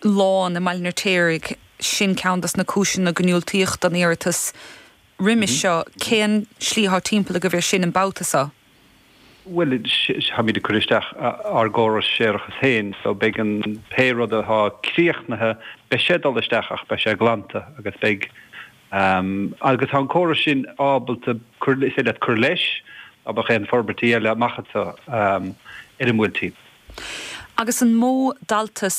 lán i mBaile an Fheirtéaraigh, sin ceann dos na cúiseanna go ndiúltaíodh don iarratas roimis seo. Cén slí atá timpeall agaibh air sin an babhta seo? Bhuel, táimid ag cur isteach ár gcóras séarachais féin, so beidh an, pé rud atá críochnaithe, beidh sé ag dul isteach ach beidh sé glanta agus beidh, agus tá an córas sin ábalta cur, is féidir leat cur leis dá mbeadh aon forbairtí eile amach anseo ar an mBuailtín. Agus an mó dalta.